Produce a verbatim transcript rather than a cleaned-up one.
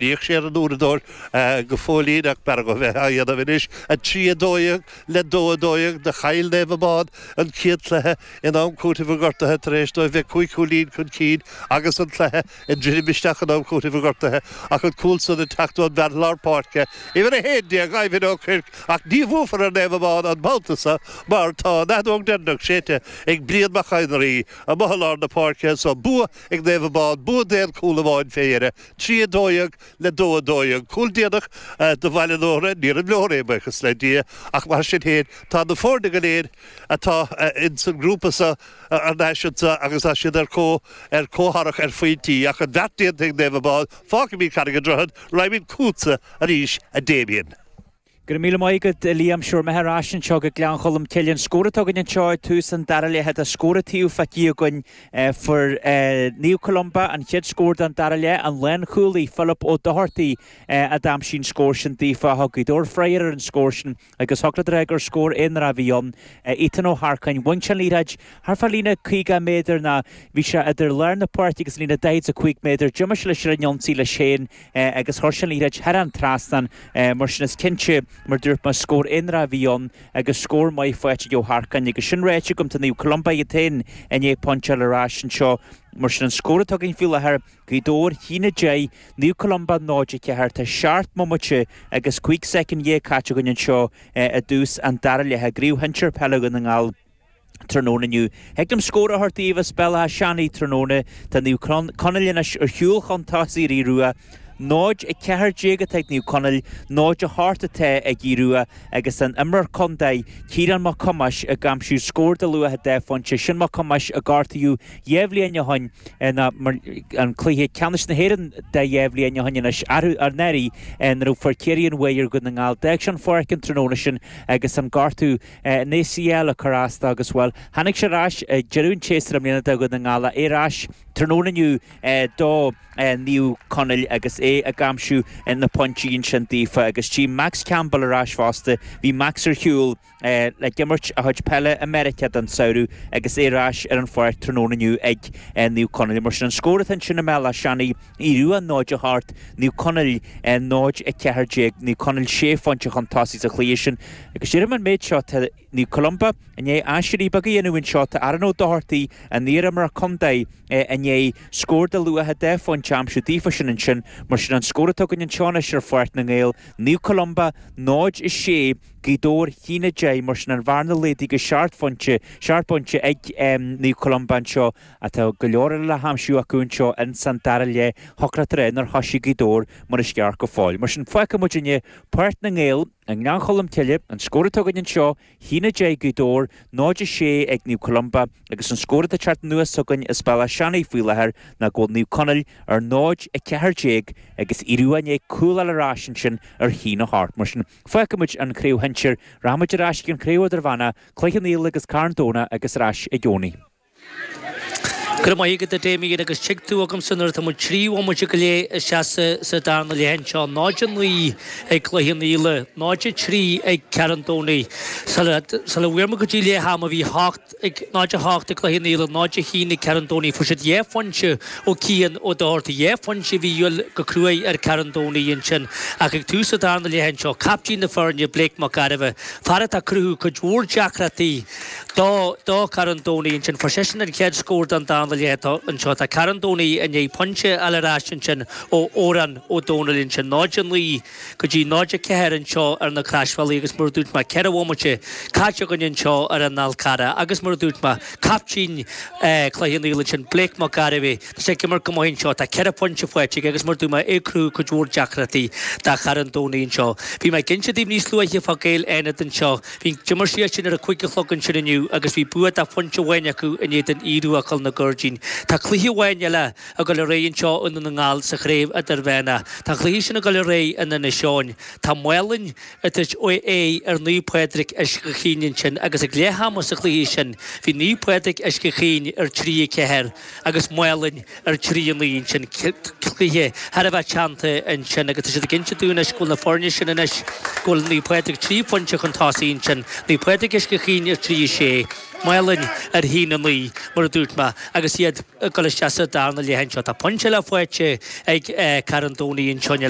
Níoch sé an uaireadóir go fóillín ach b'fhearr dhó bheith á dhéanamh anois. A trí a dó dhéag le dó a dó dhéag do chaill Naomh Abán an chéad chluiche in am cúitimh an ghortaithe tar éis dóibh bheith cúig chúilín chun cinn agus an cluiche ag druidim isteach in am cúitimh an ghortaithe ach an cúl san ag teacht ón bhfear lár páirce uimhir a haon déag Ivan Ó Cuirc ach ní bhuafar ar Naomh Abán an babhta seo mar tá an fheadóg deireanach séidte ag Brian Mac Éinrí amuigh i lár na páirce so bua ag Naomh Abán bua d'aon chúl amháin fé dheireadh trí a dó dhéag le dó a dó dhéag. Cúl déanach do Bhaile an Óra, níor imleor é, buíochas le Dia, ach mar sin féin, tá na foirne go léir atá ins an ngrúpa seo thar n-ais anseo agus tá siad ar comh ar comhtharrac ar phointí. Ach an beart déanta ag Naomh Abán, fágfaimid Carraig an Droichid, raghaimid chugatsa arís, a Damien. Go raibh míle maith agat, a Liam. Sure, mé ar ais anseo go Gleann Cholm Cille. An scór atá againn anseo ag tús an dara leath, tá scór an taobh feicthe againn. Fuair Naomh Columba an chéad scór den dara leath, an lánchúlaí Philip Ó Dochartaigh a d'aimsigh an scór sin daofa. Thug Gaoth Dobhair freagra ar an scór sin agus thig leat a rá gur scór aonarach a bhí ann. Ethan Ó hEarcáin, bhain sé an liathróid thart fá líne caoga méadar ná bhí sé idir lár na páirce agus líne daichead is a cúig méadar. D'imigh sé leis ar an ionsaí leis féin agus chuir sé an liathróid thar an trasnán. Mar sin is cinnte, mar dúirt mé, scór aonarach a bhí ann agus scór maith faighte ag Ó hEarcáin agus sin ráite agam tá Naomh Columba iad féin i ndiaidh pointe a fháil ar ais anseo. Mar sin an scór atá againn faoi láthair, Gaoth Dobhair a haon a deich, Naomh Columba náid a ceathair. Tá seacht mbomaite agus cúig soicind dhéag caite againn anseo i dtús an dara leath i gCraobh Shinsir Peile Dhún na nGall. Tráthnóna inniu. Thig liom scór a thabhairt daoibh as Béal Átha Seanaidh tráthnóna. Tá Naomh Conaill anois ar shiúl chun tosaigh ar Aodh Rua. náid a ceathair déag atá ag Naomh Conaill, náid a hocht atá ag Aodh Rua agus an imreoir contae, Ciarán Mac Thomáis, ag aimsiú scór de luach a dá phointe. Sin Mac Thomáis a gortaíodh dhá bhliain ó shoin ina an cluiche ceannais na hÉireann de dhá bhliain ó shoin anois anuraidh nuair a fuair Ciarraí an bhuaidh ar Dhún na nGall. D'fhág sé an pháirc an tráthnóna sin agus an gortú in A C L ag cur as dó agus, bhuel, tháinig sé ar ais ag deireadh an tséasúir i mbliana do Dhún na nGall, é ar ais tráthnóna inniu do Naomh Conaill agus é ag aimsiú na pointí ansin daofa agus tchím Max Campbell ar ais fosta. Bhí Max ar shiúl le himirt a chuid peile i Meiriceá don samhradh agus é ar ais ar an pháirc tráthnóna inniu ag Naomh Conaill. Mar sin an scór atá ansin i mBéal Átha Seanaidh, Aodh Rua náid a hocht, Naomh Conaill náid a ceathair déag, Naomh Conaill sé phointe chun tosaigh sa chluiche sin. Agus déarfaidh mé an méid seo, tá Naomh Columba i ndiaidh aiséirí beag a dhéanamh anseo, tá Aaron Ó Dochartaigh, an t-iarimreoir contae, i ndiaidh scór de luach a dá phointe a aimsiú daofa sin ansin. Mar sin an scór atá againn anseo anois ar Pháirc na nGael, Naomh Columba náid a sé, Gaoth Dobhair a haon a deich, mar sin an bhearna laghdaithe go seacht phointe, seacht bpointe ag Naomh Columba anseo. Tá go leor eile le haimsiú acu anseo ins an dara leath. Thiocfadh leat a rá nár thoisigh Gaoth Dobhair mar is ceart go fóill. Mar sin fágfaidh muidinne Páirc na nGael i nGleann Cholm Cille, an scór atá againn anseo, a haon a deich Gaoth Dobhair, náid a sé ag Naomh Columba agus an scór atá ag teacht anuas chugainn as Béal Átha Seanaidh faoi láthair ná go bhfuil Naomh Conaill ar náid a ceathair déag agus Aodh Rua i ndiaidh cúl a fháil ar ais ansin ar a haon a hocht. Mar sin, fágfaidh muid an chraobh shinsir, rachaidh muid ar ais ag an chraobh idirmheánach, Cloich Cheann Fhaola agus Carn Domhnach agus ar ais i gcónaí. Go raibh maith agat a Damien agus tig tú agamsa nuair atá muid trí bhomaite go leith isteach sa darna leath anseo. náid a naoi ag Cloich Cheann Fhaola, náid a trí ag Carn Domhnaigh. Sula bhfuair muid go dtí leath ama bhí hocht ag náid a hocht ag Cloich Cheann Fhaola, náid a haon ag Carn Domhnaigh. Fuair siad dhá phointe ó Cian Ó Dochartaigh, dhá phointe a bhí a dhíobháil go cruaidh ar Carn Domhnaigh ansin. Ach ag tús an darna leath anseo, captaen na foirne, Blake Mac Gairbheith, fear atá ag cruthú cuid mhór deacrachtaí do do Carn Domhnaigh ansin. Fuair seisean an chéad scór den darna leath anseo. Tá Carn Domhnaigh i ndiaidh pointe a fháil ar ais ansin ó Odhrán Ó Domhnaill ansin. náid a naoi go dtí náid a ceathair anseo ar na Croisbhealaí agus mar a dúirt mé, ceithre bhomaite caite againn anseo ar an Fhál Carrach agus mar a dúirt mé, captaen Chloich Cheann Fhaola ansin, Blake Mac Gairbheith, tá sé ag imirt go maith anseo. Tá ceithre phointe faighte aige agus mar a dúirt mé, é ag cruthú cuid mhór deacrachtaí do Charn Domhnaigh anseo. Bhí mé ag inse daoibh níos luaithe fá Gaeil Fhánada anseo. Bhí d'imir siad sin ar a cúig a chlog ansin inniu agus bhí bua de phointe amháin acu in éadan Aodh Rua Choill na Gairdín. Tá cluiche amháin eile ag dul ar aghaidh anseo i nDún na nGall sa chraobh idirmheánach. Tá an cluiche sin ag dul ar aghaidh in Inis Eoghain. Tá Maolainn ag tabhairt aghaidh ar Naomh Pádraig Uisce Chaoin ansin agus ag leath ama sa chluiche sin bhí Naomh Pádraig Uisce Chaoin ar trí a ceathair agus Maolainn ar trí a naoi ansin. Cluiche thar a bheith teannta ansin agus tá siad ag inse dúinn anois go bhfuil na foirne sin anois, go bhfuil Naomh Pádraig trí phointe chun tosaigh ansin, Naomh Pádraig Uisce Chaoin ar trí a sé. sé, Málainn ar haon a naoi, mar a dúirt mé, agus iad ag dul isteach sa darna leath anseo. Tá pointe eile faighte ag Carn Domhnaigh anseo le